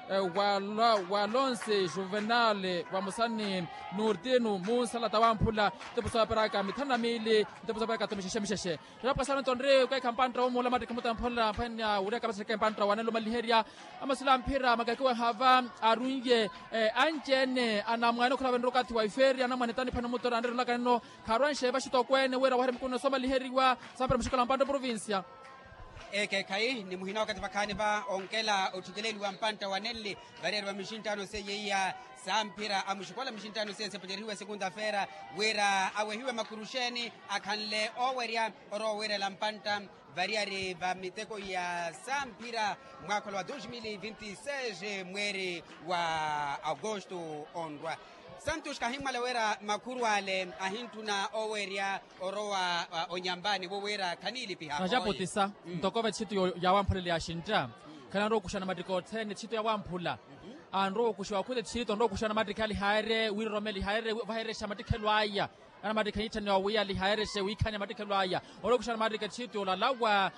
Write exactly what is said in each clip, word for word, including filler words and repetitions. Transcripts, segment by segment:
Walonse juvenal, vamosa ni nurtino munsalata wamphula, ntepo sooperaka mithanu na miili, ntepo sooperaka tho mixexe mixexe. Rapwasano tonri okeekha mpantta womula mattikhi mutamphula mphwanya wuriyaka vasereke mpantta wanelumaliherya. Amasula mphira makakiweha va arunye anci-ene anamwane okhala venre okathi wa ifeeri anamwane tani phani mutora anrerelaka nno. Kharwanxe vaxitokweene wira wahere mikuno soomaliheriwa sampira muxikola mpantta oprovincia. Ekeekhayi nimuhina okathi vakhaani va onkela otthikeleeliwa mpantta wa nenli variyari va mixinttaano seiye iya samphira a muxikola mixinttaano seiye sepacerihiwe sekunta feera wira awehiwe makuruxeeni akhanle owerya orowa owerela mpantta variyari va miteko ya samphira mwaakhola wa dos mil vinti seis mweeri wa agosto onrwa. Santos kahimmwala wira makhuru ale ahintthuna owerya orowa onyambani wo wira khaniilipiha. Naxaputisa ntoko vetthittu yawamphulele yaxintta khananrowa okuxana mattikha othene tthitu yawamphula anrowa okuxiwa khute tthitu anrowa okuxana mattikha alihaayerye wiroromelihaayerye vaherexa mattikhelo aya. Ana mattikha niitthaniwa wi alihayerexe wiikhanya mattikhelo aya. Olokuxa ana mattikha tthiitu olalawa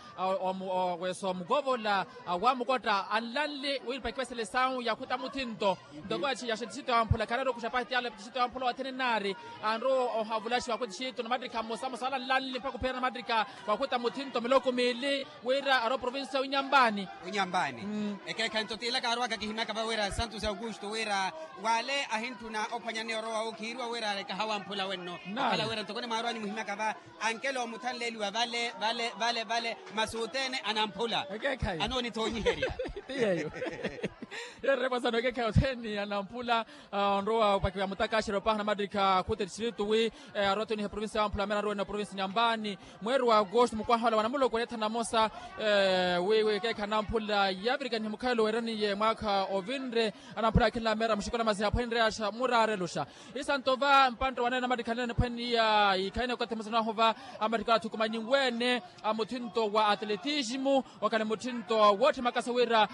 weso mukovola wamukotta anlanli wiipakiwesele sawu yakhuta muthinto. Ntoko yaxetti tthiitu yamphula kharari okuxa pahiti ale tthiitu yamphula wathene naari anru ohavulaxiwa khuti tthiitu na mattikha mmosa mmosa ala anlanli mpakha ophiyana mattikha wakhuta muthinto miloko miili. Wira ari oprovincia ya winyambani. Winyambani. Ekeekhayi nto tiilaka arowaka kihimyaka va wira santos augusto wira wale ahintthuna ophwanya ni orowa owo khiiriwa wira alekaha wamphula wenno. Okhala wira ntoko nimwaarowani muhimyaka va ankelo omuthanleeliwa vale vale vale vale masi othene anamphula. Ekeekhayi anoonithoonyiherya. Ti yeeyo. Yeererepwa sano ekeekhayi othene anamphula. Onrowa opakiwa ya mutakaxero paha na mattikha khuti ttiritu wi arowa tuniha eprovincia ya wamphula mera arowa na provincia nyambani. Mweeri wa agosto mukwaha ola wa namuloko neethana namosa wi ekeekha namphula yaavirikanihe mukhayelo weeraniye mwaakha ovinre. Anamphula akhinla meera muxikola masi aphwanireyaxa muraareluxa. Isanto va mpantta waneene amattikha aneene aphwaniya ikhayene okathi mmosa naahova amattikha athukumanyiwe-ene a muthinto wa atletismo. Okhale muthinto wootthi makasa wira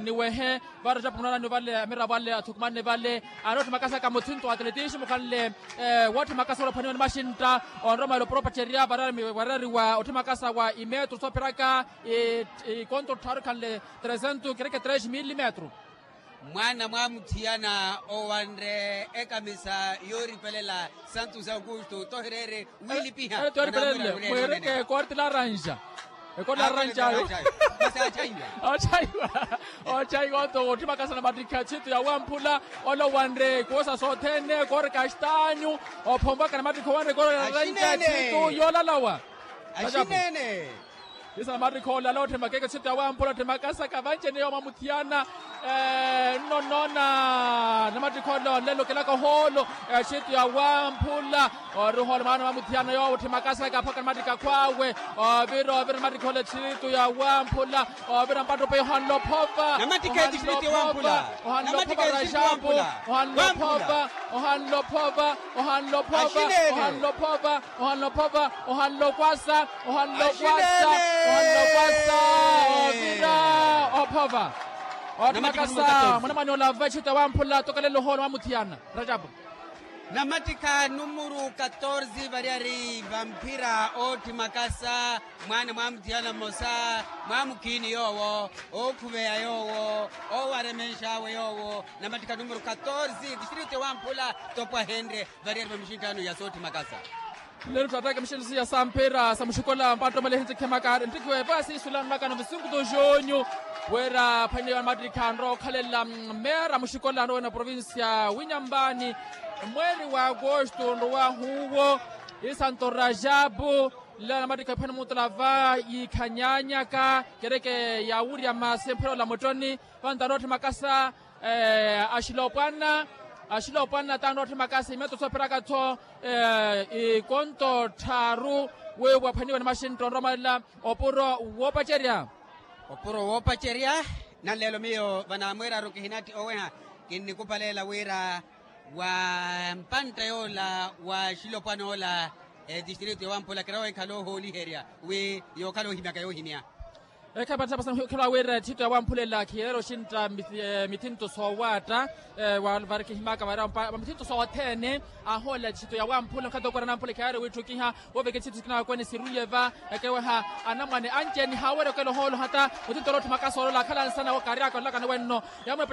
niwehe vara japu munaanani vale amiravo ale athukumanne vale. Anootthi makasaka muthinto wa atletismo okhanle wootthi makasa wira ophwaniwe ni maxintta onromela oporopacerya varari wa otthi makasa wa imetro soopheraka ikonto tthaaru khanle trezentu kereke tres mil metro. Mwaana mwamuthiyana owanre ekamisa yooripelela santos augusto tohireere wiilipiha. Mweereke korti laranja. Ekoti laranja ayo. Achayiwa. Achayiwa oto otthi makasa na mattikha tthiitu ya wamphula. Ole owanre koosa sothene koori kastanyu ophomvaka na mattikha owanre koori laranja tthiitu yoolalawa. Axinene. Isa na mattikha olala otthi makeke tthiitu ya wamphula otthi makasaka vanci-ene yoowo mwamuthiyana. Nno nnoona na mattikha ole onlelo okelaka ohoolo. Tthiitu ya wamphula ori ohoolo mwaana mwamuthiyana yoowo otthi makasaka aphaka na mattikha akhwaawe. Ovira ovira na mattikha ole tthiitu ya wamphula. Ovira mpattupe ohanlophova. Ohanlophova rajapu. Ohanlophova. Ohanlophova. Ohanlophova. Ohanlophova. Ohanlophova. Ohanlokwasa. Ohanlokwasa. Ohanlokwasa. Ovira ophova. Otthu makasa mwanamwane olava tthiitu ya wamphula tokelela ohoolo mwamuthiyana. Rajapu. Na mattikha numuru katorze variyari vamphira ootthi makasa. Mwaana mwamuthiyana mmosa mwamukhiini yoowo ookhuveya yoowo owaremenxawe yoowo na mattikha numuru katorze distrito ya wamphula. Topwahenrye variyari va mixinttaano ya sootthi makasa. Lelo twattaka mixinttaano siya samphira sa muxikola mpattomale ehintsikhemaka nttikhiwe va siisulano nakano visinkutu junyu. Wira phwaniwa na mattikha anrowa okhalela meera muxikola anrowa na provincia winyambani. Mweeri wa agosto nrowahu uwo isanto rajapu. Nlela na mattikha ephwene muutula va yiikhanyanyaka kereke ya wurya masi mphwela ola muttoni. Vantaano otthi makasa axilopwana. Axilopwana taano otthi makasa imeto sooperaka-tho ikonto tthaaru. Wiiwa phwaniwa ni maxintta onromalela opuro woopacerya. Opuro woopacerya. Nanleelo miyo vanamweeraru kihinatti oweha kinnikupalela wira wa mpantta yoola wa xilopwana ola etistrito ya wamphula kirawa enkhala ohooliherya wi yookhala ohimyaka yoohimya. Ekhayi patthaphasa okhela wira ethito ya wamphula ela khiyelela oxintta mithinto soowaatta. Vari kihimyaka vari mithinto sothene ahoolela ethito ya wamphula okhata okwera namphula ekhayi ari wiitthukiha. Wooveka ethito sikina wakwene siruye va ekeweha anamwane anci-ene haawerya okela ohoolo hata. Muthinto olotthu makasa olola akhala nsana wakaryaka ololakani wenno. Yamwepa